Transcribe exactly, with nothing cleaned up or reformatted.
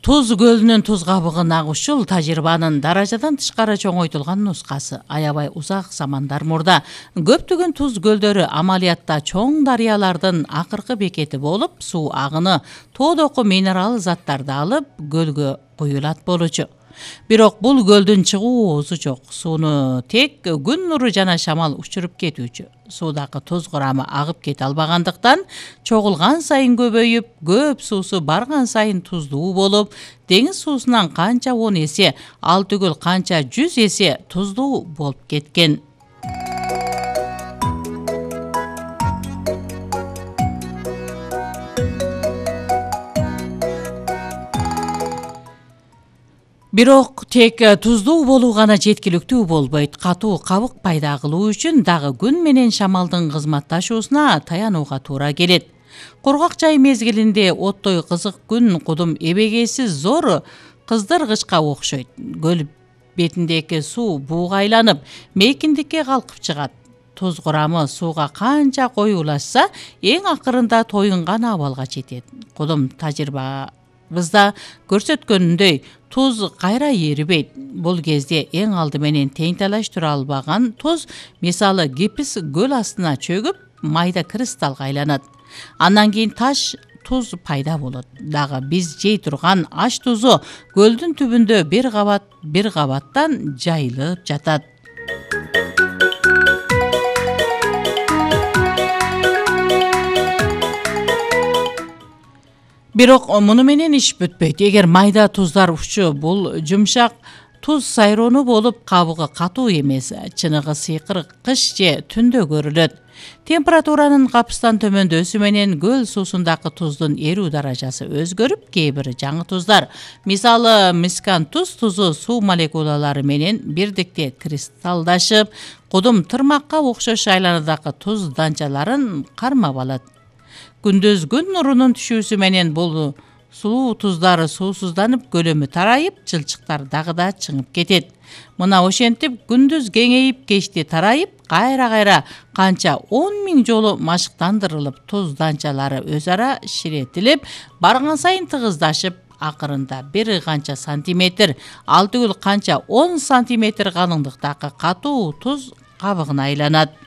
Туз көлүнүн туз кабыгын агушул тажрыйбанын даражадан тышкары чоңойтулган нускасы. Аябай узак замандар мурда көптөгөн туз көлдөрү амалиятта чоң дарыялардын акыркы бекети болуп, суу агыны тоодоку минерал заттарды алып көлгө куюлат болчу. Бирок бул көлдүн чыгуу оозу жок. Сууну тек күн нуру жана шамал учуруп кетүүчү. Суудагы туз курамы агып кете албагандыктан чогулган сайын көбөйүп, көп суусу барган сайын туздуу болуп, деңиз суусунан канча он эсе, ал түгүл канча жүз эсе туздуу болуп кеткен. Бирок тек туздуу болуу гана жеткиликтүү болбойт. Катуу кабык пайда кылуу үчүн дагы күн менен шамалдын кызматташуусуна таянууга туура келет. Кургак жай мезгилинде оттой кызык күн кудум эбегейсиз зор кыздыргычка окшойт. Көл бетиндеги суу бууга айланып, мейкиндикке калкып чыгат. Туз курамы сууга канча коюулашса, эң акырында тоюнган абалга жетет. Кудум тажрыйбабызда көрсөткөнүндөй, туз кайра эрибейт. Бул кезде эң алды менен тең талаштыра албаган туз, мисалы гипс көл астына чөгүп, майда кристаллга айланат. Андан кийин таш туз пайда болот. Дагы биз жей турган аш тузу көлдүн түбүндө бир кабат бир кабаттан жайылып жатат. Бирок муну менен иш бүтпөйт. Эгер майда туздар учу бул жумшак туз сайроону болуп, кабыгы катуу эмес, чыныгы сыйкыр кыш же түндө көрүлөт. Температуранын капыстан төмөндөсү менен көл суусундагы туздун эрүү даражасы өзгөрүп, кээ бир жаңы туздар, мисалы мискантуз тузу суу молекулалары менен бирдикте кристалдашып, кудум тырмакка окшош айланадагы туз данчаларын кармап алат. Күндүз күн нурунун түшүүсү менен бул сулуу туздары суусузданып, көлөмү тарайып, жылчыктар дагы да чыңып кетет. Мына ошентип күндүз кеңейип, кечти тарайып, кайра-кайра канча он миң жолу машыктандырылып, туз данчалары өз ара ширетилип, барган сайын тыгыздашып, акырында бир канча сантиметр, ал түгүл канча он сантиметр калыңдыктагы катуу туз кабыгына айланат.